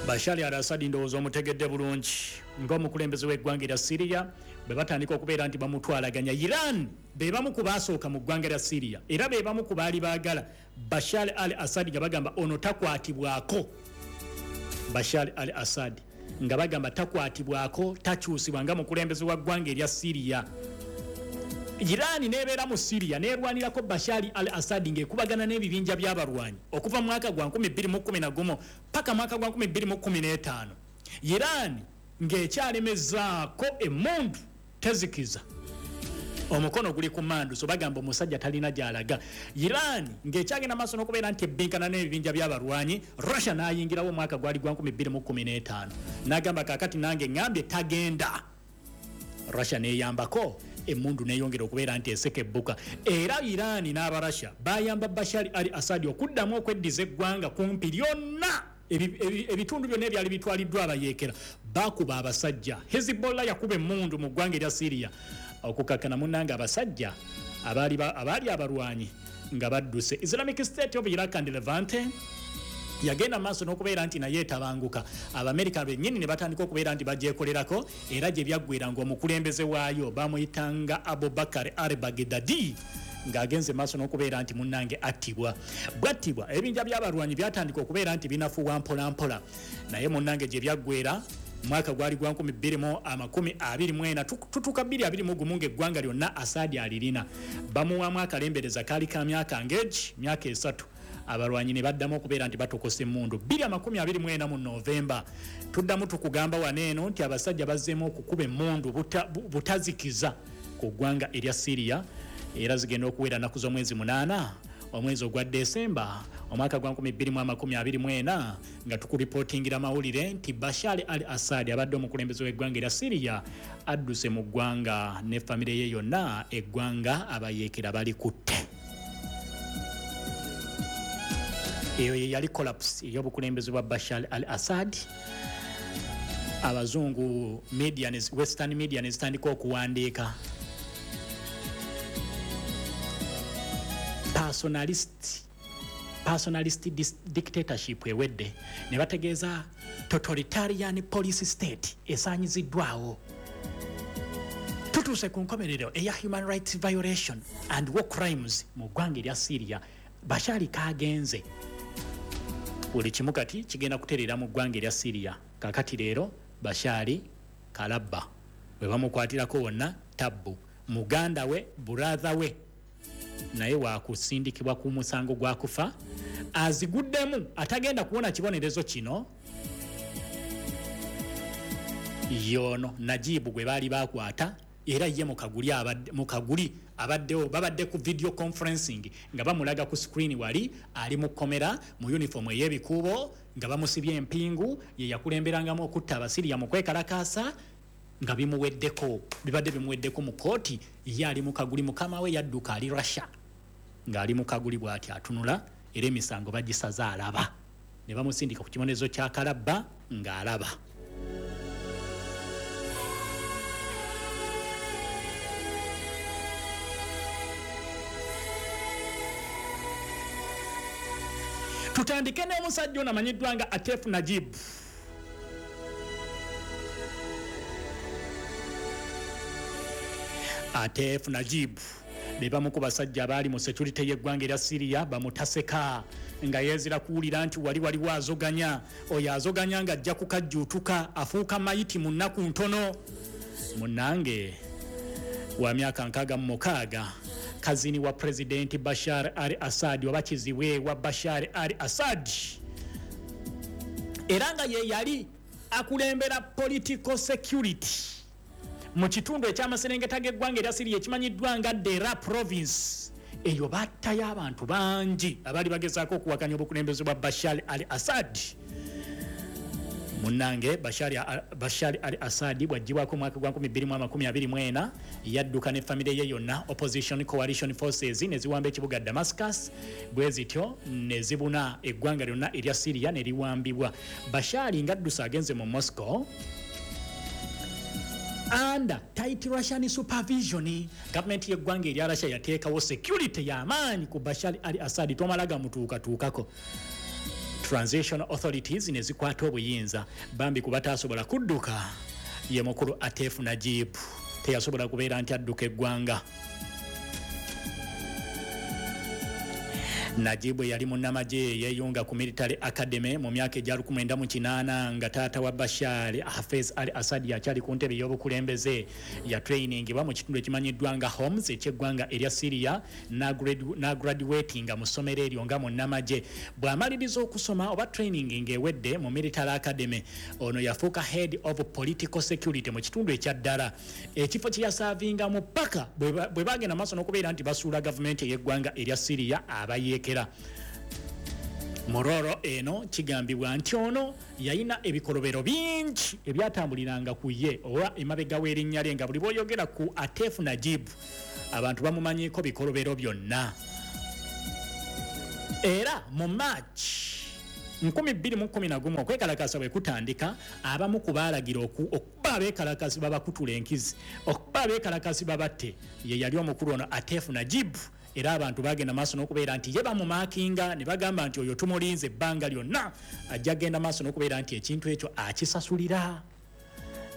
Bashar al-Assad ndowooza omutegedde bulungi ng'omukulembeze w'eggwanga erya Syria bwe batandika okubeera nti bamutwalaganya. Iran be bamu ku baasooka mu ggwanga lya Syria era be bamu ku baali baagala Bashar al-Assad nga bagamba ono takwatibwako. Bashar al-Assad nga bagamba takwatibwako, takyusibwa nga mukulembeze wa ggwanga erya Syria. Iran nebeera mu Syria nerwanirako Bashar al-Assad ng'ekubagana n'ebibinja by'abalwanyi okuva mu mwaka gwa 2011 paka mwaka gwa 2015. Iran ng'ekyalemezaako emmundu tezikiza, omukono guli ku mandu, so bagamba omusajja talina gy'alaga. Iran ng'ekyagenda maaso n'okubeera nti ebbinkana n'ebibinja by'abalwanyi, Russia n'ayingirawo omwaka gwali gwa 2015 n'agamba kaakati nange ŋŋambye tagenda. Russia n'eyambako emmundu n'eyongera okubeera nti eseka ebbuka, era Iran n'Abarussia bayamba Bashar al-Assad okuddamu okweddiza eggwanga kumpi lyonna, ebitundu byonna ebyali bitwaliddwa abayeekera. Bakuba abasajja, Hezbollah yakuba emmundu mu ggwanga erya Syria okukakkana munnange abasajja abaali abalwanyi nga badduse. Islamic State of Iraq and Levante yagenda maaso n'okubeera nti naye etabanguka, Abamerika bennyini ne batandika okubeera nti bagyekolerako, era gye byaggwera ng'omukulembeze waayo bamuyitanga Abubakar al Baghdadi ng'agenze maaso n'okubeera nti munnange attibwa. Bwattibwa, ebibinja by'abalwanyi byatandika okubeera nti binafuwa mpola mpola, naye munnange gye byaggwera mwaka gwali gwa 2024, tutuuka 2021 ng'eggwanga lyonna Asadi alirina. Bamuwaamu akalembereza kaali ka myaka ng'egi myaka 3, abalwanyi ne baddamu okubeera nti batokosa emmundu. 2024 mu Novemba tuddamu tukugamba wano eno nti abasajja bazzeemu okukuba emmundu butazikiza ku ggwanga erya Syria, era zigenda okuwera nnaku z'omwezi 8 omwezi ogwa Desemba omwaka gwa 2024 nga tukuripootingira mawulire nti Bashar al-Assad abadde omukulembeze w'eggwanga erya Syria adduse mu ggwanga ne famire ye yonna, eggwanga abayeekera bali kutte. Eyo ye yali collapse ey'obukulembeze bwa Bashar al-Assad. Abazungu media, western media ne zitandika okuwandiika personalist dictatorship ewedde, ne bategeeza totalitarian police state esaanyiziddwawo, tutuuse ku nkomerero eya human rights violation and war crimes mu ggwanga erya Syria. Bashar kagenze, buli kimu kati kigenda kutereera mu ggwanga erya Syria. Kakati leero Bashar kalabba bwe bamukwatirako wonna tabbu. Muganda we, brother we naye wakusindikibwa ku musango gwa kufa, aziguddemu atagenda kuwona kibonerezo kino yono Najibu gwe baali bakwata, era ye mukaguli abaddewo, babadde ku video conferencing nga bamulaga ku screen wali ali mu kkomera mu uniform ey'ebikuubo nga bamusibye empingu, ye yakulemberangamu okutta Abasiriya mu kwekalakaasa nga bimuweddeko, bibadde bimuweddeko mu kooti. Ye ali mukaguli, mukama we yadduka ali Russia ng'ali mukaguli bw'ati atunula, era emisango bagisaza alaba, ne bamusindika ku kibonerezo kya kalabba ng'alaba. Tutandike n'omusajja ono amanyiddwa nga Atef Najib. Atef Najib be bamu ku basajja abaali mu security y'eggwanga erya Syria bamutaseka nga yeezira kuwulira nti wali waliwo azoganya, oyo azoganya ng'ajja kukajjuutuka afuuka mayiti mu nnaku ntono. Munnange wa myaka 66, kazini wa Pulezidenti Bashar al-Assad oba kizibwe wa Bashar al-Assad, era nga ye yali akulembera political security mu kitundu ekyamaserengeta g'eggwanga erya Syria ekimanyiddwa nga Dera province. Eyo battayo abantu bangi abaali bagezaako okuwakanya obukulembeze bwa Bashar al-Assad. Munnange Bashar al-Assad bw'aggyibwako omwaka gwa 2024 yadduka ne famire ye yonna. Opposition coalition forces ne ziwamba ekibuga Damascus, bwe zityo ne zibuna eggwanga lyonna erya Syria ne liwambibwa. Bashar ng'adduse agenze mu Moscow under tight Russian supervision. Gavumenti y'eggwanga erya Russia yateekawo security y'amaanyi ku Bashar al-Assad, tomala gamutuukatuukako. Transitional authorities ne zikwata obuyinza. Bambi ku bataasobola kudduka ye mukulu Atef Najib, teyasobola kubeera nti adduka eggwanga. Najib yali munnamagye, yeeyunga ku military academy mu myaka egya 1980 nga taata wa Bashar Hafez al Assad akyali ku ntebe y'obukulembeze. Yatrainingibwa mu kitundu ekimanyiddwa nga Homs ekyeggwanga erya Syria, n'agraduatinga mu ssomero eryo nga munnamagye. Bw'amaliriza okusoma oba training ng'ewedde mu military academy, ono yafuuka head of political security mu kitundu ekya Ddala, ekifo kye yaservingamu paka bwe bagenda maaso n'okubeera nti basuula gavumenti ey'eggwanga erya Syria abayeekera. Mororo eno kigambibwa nti ono yalina ebikolobero bingi ebyatambuliranga ku ye oba emabega w'erinnya lye, nga buli bw'oyogera ku Atef Najib abantu bamumanyiiko bikolobero byonna. Era mu March 2011 okwekalakasa bwe kutandika, abamu ku baalagira okuba abeekalakasi babakutula enkizi, okuba abeekalakasi babatte, ye yali omukulu ono Atef Najib. Era abantu bagenda maaso n'okubeera nti ye bamumarkinga ne bagamba nti oyo tumulinze ebbanga lyonna, ajja genda maaso n'okubeera nti ekintu ekyo akisasulira.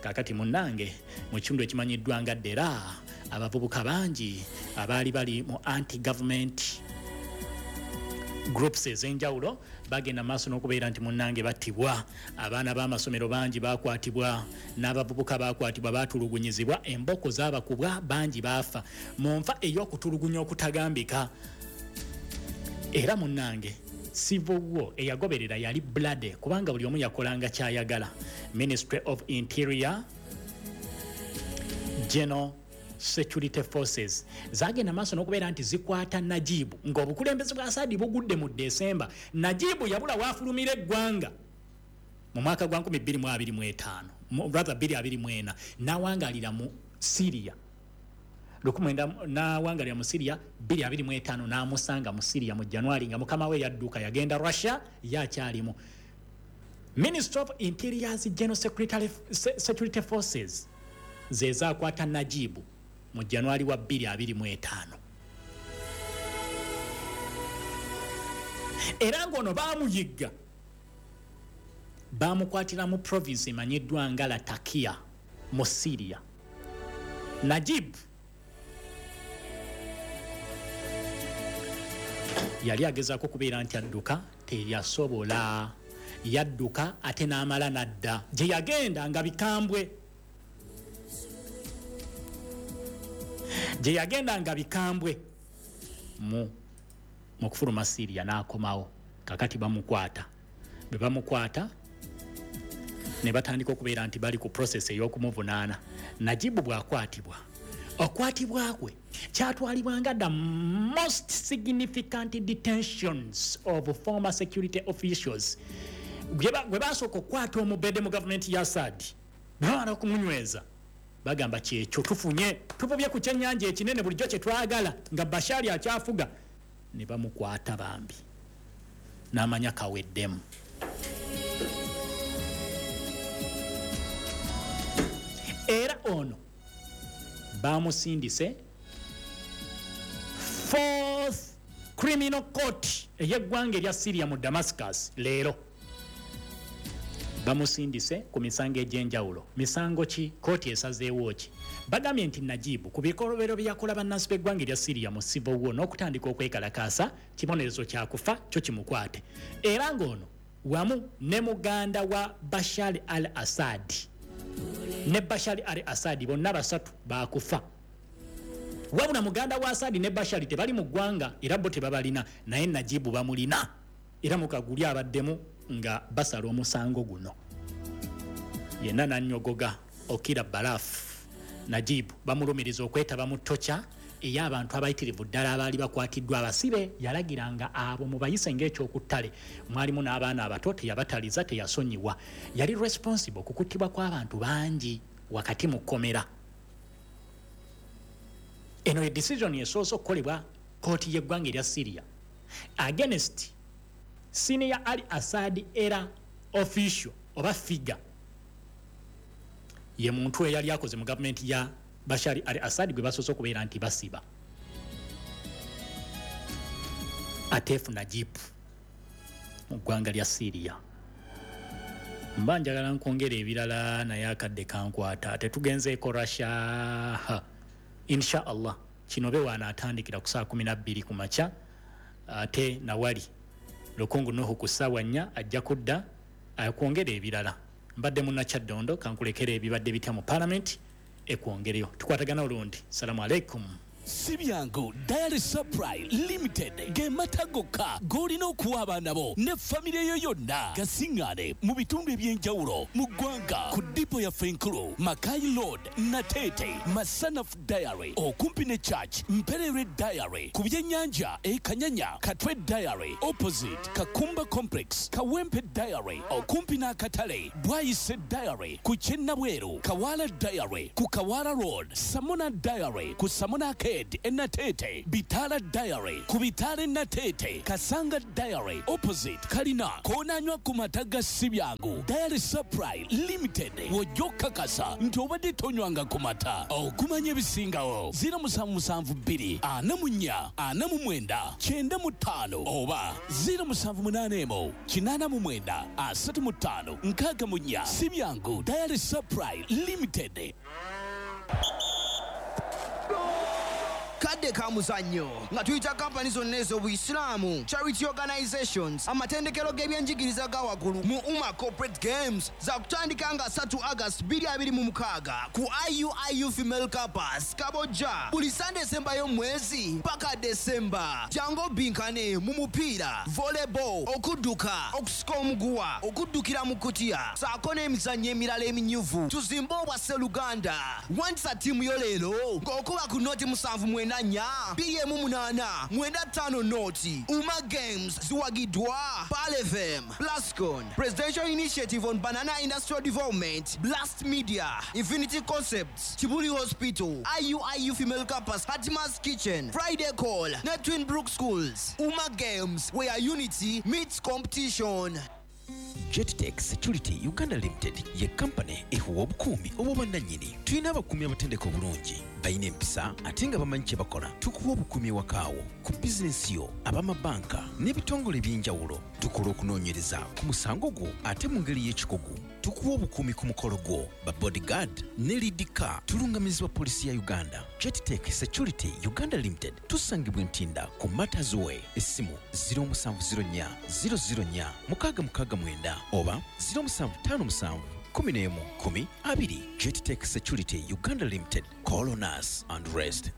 Kaakati munnange, mu kitundu ekimanyiddwa nga Ddera, abavubuka bangi abaali bali mu anti government groups ez'enjawulo bagenda maaso n'okubeera nti munnange battibwa. Abaana b'amasomero bangi bakwatibwa, n'abavubuka bakwatibwa, batulugunyizibwa, emboko zaabakubwa, bangi baafa mu nfa ey'okutulugunya okutagambika. Era munnange, civil war eyagoberera yali bloody, kubanga buli omu yakolanga kyayagala. Ministry of Interior General Security Forces zagenda maaso n'okubeera nti zikwata Najibu ng'obukulembeze bwa Asadi bugudde mu Desemba. Najibu yabula waafulumira eggwanga mu mwaka gwa 2025, rather 2024, n'awangalira mu Syria lukumwenda, n'awangalira mu Syria 2025, n'amusanga mu Syria mu January nga mukama we yadduka yagenda Russia, ye akyalimu. Minister of Interior's General Security Forces ze zaakwata Najibu mu January wa 2025, era ng'ono baamuyigga, bamukwatira mu province emanyiddwa nga Latakia mu Syria. Najib yali agezaako okubeera nti adduka, teyasobola. Yadduka ate n'amala n'adda gye yagenda nga bikambwe, gye yagenda nga bikambwe mu kufuluma Syria n'akomawo. Kakati bamukwata, bwe bamukwata ne batandika okubeera nti bali ku process ey'okumuvunaana. Najibu bw'akwatibwa, okwatibwa kwe kyatwalibwa nga the most significant detentions of former security officials. Gwe basooka okukwata omubede mu gavumenti ya Assad, bamala okumunyweza bagamba kyekyo tufunye, tuvubye ku kyennyanja ekinene bulijjo kye twagala nga Bashari akyafuga, ne bamukwata bambi n'amanya kaweddemu. Era ono bamusindise Fourth Criminal Court ey'eggwanga erya Syria mu Damascus. Leero bamusindise ku misango egy'enjawulo. Misango ki? Kooti esazeewo ki? Bagambye nti Najibu ku bikolobero bye yakola bannansi b'eggwanga erya Syria mu civil war n'okutandika okwekalakaasa, kibonerezo kyakufa kyo kimukwate. Era ng'ono wamu ne muganda wa Bashar al Assad ne Bashar al Assad bonna basatu bakufa. Wabula muganda wa Assad ne Bashar tebali mu ggwanga, era bo tebabalina, naye Najibu bamulina. Era mukaguli abaddemu nga basala omusango guno yenna nanyogoga okira balafu. Najibu bamulumiriza okwetaba mu tocha ey'abantu abayitirivu ddala abaali bakwatiddwa abasibe. Yalagiranga abo mubayise ng'ekyokuttale, mwalimu n'abaana abato, teyabataliza, teyasonyiwa. Yali responsible ku kuttibwa kw'abantu bangi wakati mu kkomera. Eno ye decision esoose okukolebwa kooti y'eggwanga erya Syria against senior Ali Assad era official oba figure. Ye muntu eyali akoze mu gavumenti ya Bashar al Assad gwe basoose okubeera nti basiba, Atef Najib. Mu ggwanga lya Syria. Mba njagala nkwongera ebirala, naye akadde kankwata. Tetugenzeeko Russia. Insha Allah kino be waanaatandikira ku saa 12 ku makya, ate nawali Lukungu Nuhu ku ssaawa 4 ajja kudda akwongera ebirala. Mbadde munnakyaddondo, kankulekera ebibadde bitya mu Palamenti ekwongereyo. Tukwatagana olundi. Salamu aleikum. Si byangu Dairy Supply Limited ge mata gokka g'olina okuwa abaana bo ne famire yo yonna. Gasiŋŋaane mu bitundu eby'enjawulo mu ggwanga ku ddipo yaffe enkulu, Mackay Road, Nateete, Masanafu Dairy okumpi ne Church, Mpererwe Dairy ku byennyanja e Kanyanya, Katwe Dairy opposite Kakumba Complex, Kawempe Dairy okumpi n'akatale, Bwaise Dairy ku ky'e Nabweru, Kawaala Dairy ku Kawaala Road, Samona Dairy ku Samona Arcade e Nateete, Bitaala Dairy ku Bitaala e Nateete, Kasanga Dairy opposite Kalina. K'onaanywa ku mata ga Sibyangu Dairy Supply Limited w'ojja okukakasa nti obadde tonywanga ku mata. Okumanya ebisingawo, 0772 44 49 95 oba 0781 89 35 64. Sibyangu Dairy Supply Limited. Kadde ka muzannyo nga tuyita kampani zonna ez'Obuyisiraamu, charity organizations, amatendekero g'ebyenjigiriza ga waggulu mu UMA Corporate Games za kutandika nga 3 August 2026 ku IUIU Female Campus, Kabojja, buli Sande esembayo mu mwezi paka Desemba. Jangu obbinkane mu mupiira, volleyball, okudduka, okusika omuguwa, okuddukira mu kutiya ssaako n'emizannyo emirala eminyuvu. Tuzimbe obwa Sseruganda. Wandisa ttiimu yo leero ng'okuba ku noti 7 94 2 18 95 noti. UMA Games ziwagiddwa Pearl FM, Plascon, Presidential Initiative on Banana Industrial Development, Blast Media, Infinity Concepts, Kibuli Hospital, IUIU Female Campus, Hatima's Kitchen, Friday Call ne Twin Brook Schools. UMA Games, where unity meets competition. Jettech Security Uganda Limited ye kampani ekuwa obukuumi obw'obwannannyini. Tulina abakuumi abatendeke obulungi, balina empisa ate nga bamanyi kye bakola. Tukuwa obukuumi ewakaawo, ku bizinensi yo, ab'amabanka n'ebitongole eby'enjawulo. Tukola okunoonyereza ku musango gwo ate mu ngeri y'ekikugu. Tukuwa obukuumi ku mukolo gwo, ba bodyguard ne lead car. Tulungamizibwa poliisi ya Uganda. Jettech Security Uganda Limited tusangibwa Ntinda ku Matters Way. Essimu 0704 004 669 oba 0757 11 10 20. Jettech Security Uganda Limited. Call on us and rest.